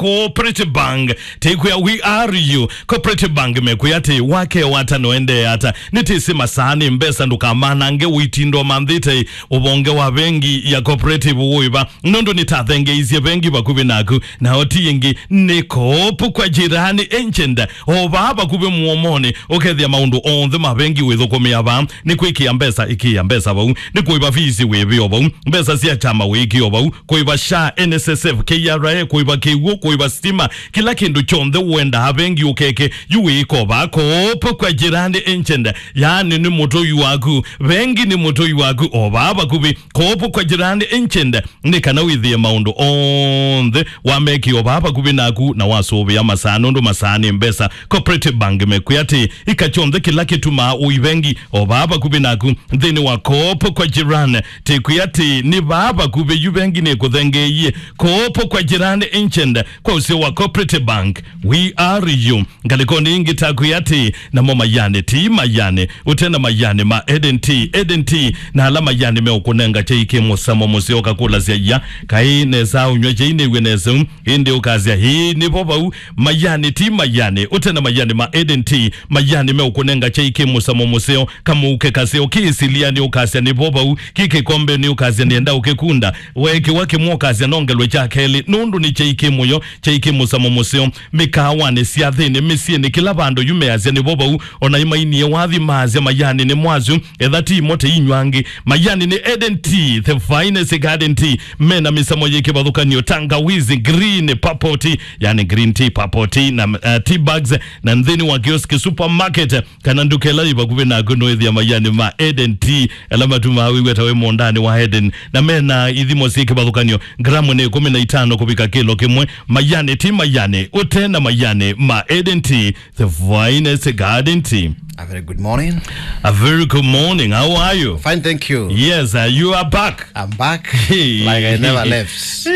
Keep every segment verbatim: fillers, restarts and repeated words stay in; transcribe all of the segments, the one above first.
Cooperative Bank. Tĩkwĩa, we are you. Cooperative Bank mekwĩa atĩ, wake wata noendee ata. Nĩtĩsĩ masaa nĩ mbesa, ndũkamanange ũitinda ũmanthĩte ũvonge wa vengi ya Cooperative wĩva. Nũndũ nĩtathengeisye vengi vakuvĩ naku, nao ti ĩngĩ nĩ Coop kwa Jirani Agent. O vaa vakuvĩ mũomonĩ, ũkethĩa maũndũ onthe ma vengi wĩthũkũmĩa vaa. Nĩ kwĩkĩa mbesa, ĩkĩa mbesa vau. Nĩ kũĩva fees, wĩvĩo vau. Mbesa sya kyama, wĩkĩo vau. Kũĩva SHA, NSSF, KRA, kũĩva kĩw'ũ, kũĩva stima, kĩla kĩndũ kyonthe ũendaa vengi ũkeke, yu wĩĩko vaa Coop kwa Jirani Agent. Yaani nĩ mũtũi waku, vengi nĩ mũtũi waku, o vaa vakuvĩ. Coop kwa Jirani Agent nĩ kana wĩthĩe maũndũ onthe wamekĩo vaa vakuvĩ naku na wasũvĩa masaa, nũndũ masaa nĩ mbesa. Cooperative Bank mekwĩa atĩ, ĩka kyonthe kĩla kĩtumaa ũi vengi o vaa vakuvĩ naku nthĩnĩ wa Coop kwa Jirani. Tĩkwĩa atĩ, nĩ vaa vakuvĩ, yu vengi nĩkũthengeeie. Coop kwa Jirani Agent, kwa ũseo wa Cooperative Bank, we are you. Ngalĩkonĩ ĩngĩ takwĩa atĩ, namo mayanĩ ti mayanĩ ũte na mayanĩ ma Eden Tea. Eden Tea na ala mayanĩ meũkũnenga kyai kĩ mũsamo mũseo, ũkakũlasya, "Ya, kaĩ nesa ũnyw'a kyai nĩw'e nesa ũu?" Ĩndĩ ũkasya, "Ĩĩ, nĩ vo vau." Mayanĩ ti mayanĩ ũte na mayanĩ ma Eden Tea. Mayanĩ meũkũnenga kyai kĩ mũsamo mũseo, kamũuke kaseo kĩ ĩsilianĩ, ũkasya, "Nĩ vo vau." Kĩ kĩkombenĩ, ũkasya, "Nĩenda ũkĩkunda." Weekĩwa kĩmwe, ũkasya, "Nongelwe kya kelĩ, nũndũ nĩ kyai kĩ mũyo, kyai kĩ mũsamo mũseo." Mĩkaawanĩ, syathĩnĩ, mĩsyĩnĩ, kĩla vandũ yu measya, "Nĩ vo vau." Ona imainie wathi maasya, "Mayanĩ nĩ mwasu, etha ti imo tĩinywa angĩ." Mayanĩ nĩ Eden Tea, the finest garden tea. Mena mĩsamo yĩ kĩvathũkanio, tangawizi, green, purple tea, yani green tea, purple tea, na, uh, tea bags, na nthĩnĩ wa kioski, supermarket, kana nduka ĩla yĩ vakuvĩ naku, nũĩthĩa mayanĩ ma Eden Tea, ala matumaa wĩw'a ta wĩ mũũndanĩ wa Eden. Na mena ithimo syĩ kĩvathũkanio, gramu nĩ ĩkũmi na itano kũvika kĩlo kĩmwe. Mayanĩ ti mayanĩ ũte na mayanĩ ma Eden Tea, the finest garden tea. A very good morning. A very good morning. How are you? Fine, thank you. Yes, uh, you are back. I'm back. Hey. Like I never left. Hey,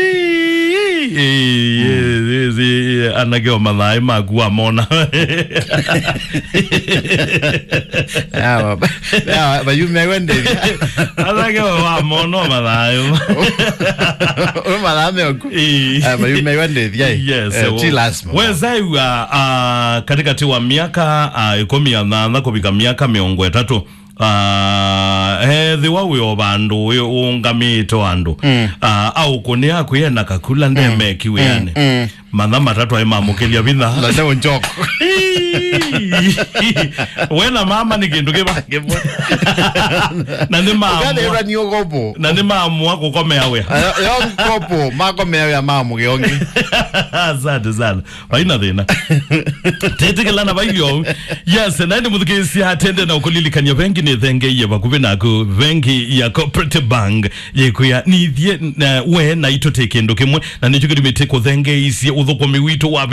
hey, hey, yes, yes, yes, anake o mathaĩ maku wamona. Yawa, yawa, mayume wendethia. Anake o wamona o mathaĩ. Ũ mathaĩ meoku. Eh. Ah, mayume wendethia. Yes, eh, ti lazima. Weza iwa, ah, katikati wa miaka, ah, ĩkũmi na nyanya kũvika miaka mĩongo ĩtatũ. Ah, ethĩwa wĩ o vandũ wĩ ũũngamĩĩte o andũ, mm, ah, aũkũnĩa akwĩe na kakula, mm, ndemeki wĩanĩ. Mm, mm. Matha matatũ aĩ mamũkĩlya vinya. Na nĩ ũnjoko. We na mama nĩ kĩndũ kĩva kĩmwe. Na nĩ maamua. Ũkathĩwa nĩ ũkopo. Na nĩ maamua kũkomea wĩa. Yo, yo kopo, makomea wĩa ma mũgeongi. Asante sana. Vaina thĩna. Tetĩkĩlana vailyo. Yes, na nĩ mũthukĩĩsya tende na ũkũlilikany'a vengi nĩ thengeie vakuvĩ naku, vengi ya Cooperative Bank. Yĩkwĩa, nĩthiĩ na we naitũ tĩ kĩndũ kĩmwe, na nĩkyo kĩtumi tĩkũthengeisye ũthũkũmi witũ wa